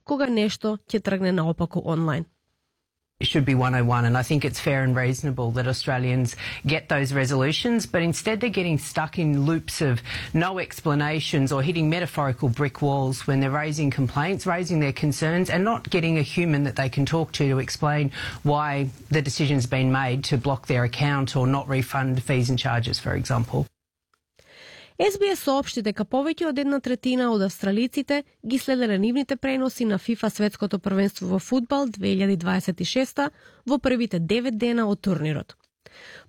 кога нешто ќе тргне наопаку онлайн. It should be 101, and I think it's fair and reasonable that Australians get those resolutions, but instead they're getting stuck in loops of no explanations or hitting metaphorical brick walls when they're raising complaints, raising their concerns, and not getting a human that they can talk to explain why the decision's been made to block their account or not refund fees and charges, for example. SBS соопшти дека повеќе од 1/3 од австралиците ги следеле нивните преноси на FIFA светското првенство во фудбал 2026 во првите 9 дена од турнирот.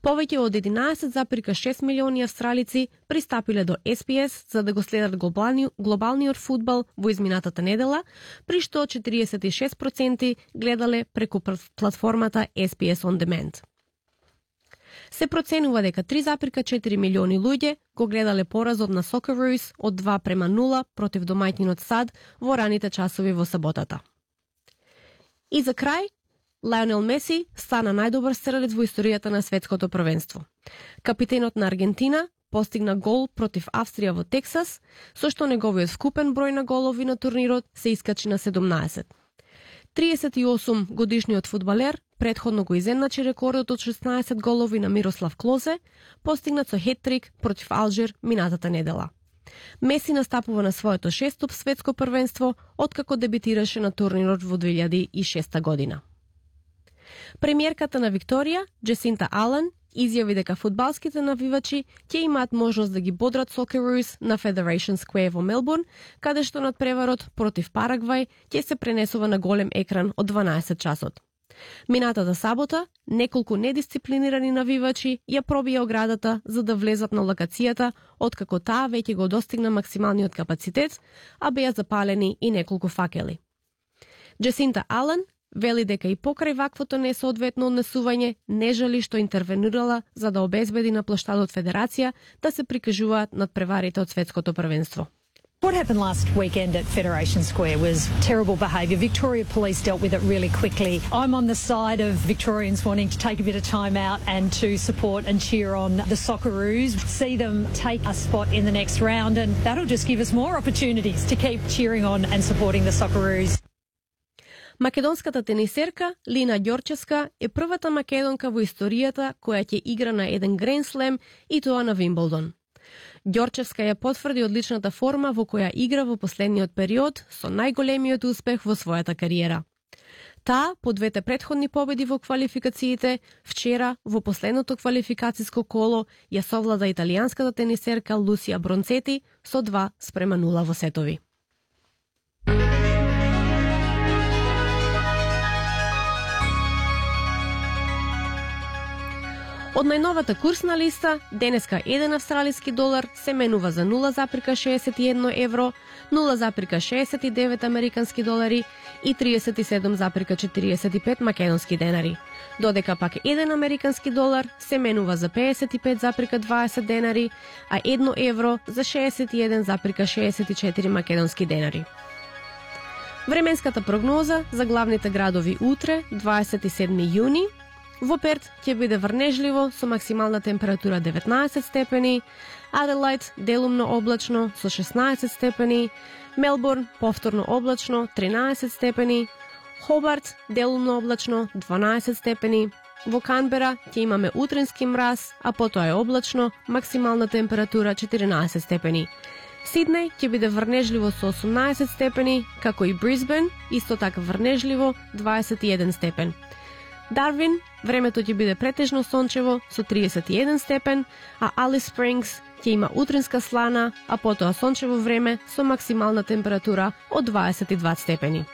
Повеќе од 11,6 милиони австралици пристапиле до SBS за да го следат глобалниот фудбал во изминатата недела, при што 46% гледале преку платформата SBS On Demand. Се проценува дека 3,4 милиони луѓе го гледале поразот на Socceroos од 2-0 против домаќинот САД во раните часови во саботата. И за крај, Лионел Меси стана најдобар стрелец во историјата на светското првенство. Капитенот на Аргентина постигна гол против Австрија во Тексас, со што неговиот вкупен број на голови на турнирот се искачи на 17. 38 годишниот фудбалер претходно го изедначи рекордот од 16 голови на Мирослав Клозе, постигнат со хет-трик против Алжир минатата недела. Меси настапува на своето 6-то светско првенство, откако дебитираше на турнирот во 2006 година. Премиерката на Викторија, Джесинта Ален, изјави дека фудбалските навивачи ќе имаат можност да ги бодрат Socceroos на Federation Square во Мелбурн, каде што надпреварот против Парагвај ќе се пренесува на голем екран од 12 часот. Минатата сабота, неколку недисциплинирани навивачи ја пробија оградата за да влезат на локацијата, откако таа веќе го достигна максималниот капацитет, а беа запалени и неколку факели. Джесинта Ален вели дека и покрај ваквото несоодветно однесување не жали што интервенирала за да обезбеди на плоштадот Федерација да се прикажуваат надпреварите од светското првенство. What happened last weekend at Federation Square was terrible behaviour. Victoria Police dealt with it really quickly. I'm on the side of Victorians wanting to take a bit of time out and to support and cheer on the Socceroos, see them take a spot in the next round, and that'll just give us more opportunities to keep cheering on and supporting the Socceroos. Македонската тенисерка Лина Ѓорчевска е првата македонка во историјата која ќе игра на еден Гранд Слем и тоа на Вимблдон. Ѓорчевска ја потврди одличната форма во која игра во последниот период со најголемиот успех во својата кариера. Таа, по двете претходни победи во квалификациите, вчера во последното квалификациско коло ја совлада италијанската тенисерка Лусија Бронцети со 2-0 во сетови. Од најновата курсна листа, денеска 1 австралиски долар се менува за 0,61 евро, 0,69 американски долари и 37,45 македонски денари, додека пак 1 американски долар се менува за 55,20 денари, а 1 евро за 61,64 македонски денари. Временската прогноза за главните градови утре, 27 јуни, во Перт ќе биде врнежливо со максимална температура 19 степени, Аделајд делумно облачно со 16 степени, Мелбурн повторно облачно 13 степени, Хобарт делумно облачно 12 степени, во Канбера ќе имаме утрински мраз, а потоа е облачно, максимална температура 14 степени. Сиднеј ќе биде врнежливо со 18 степени, како и Брисбен, исто така врнежливо 21 степен. Дарвин, времето ќе биде претежно сончево со 31 степен, а Алис Спрингс ќе има утринска слана, а потоа сончево време со максимална температура од 22 степени.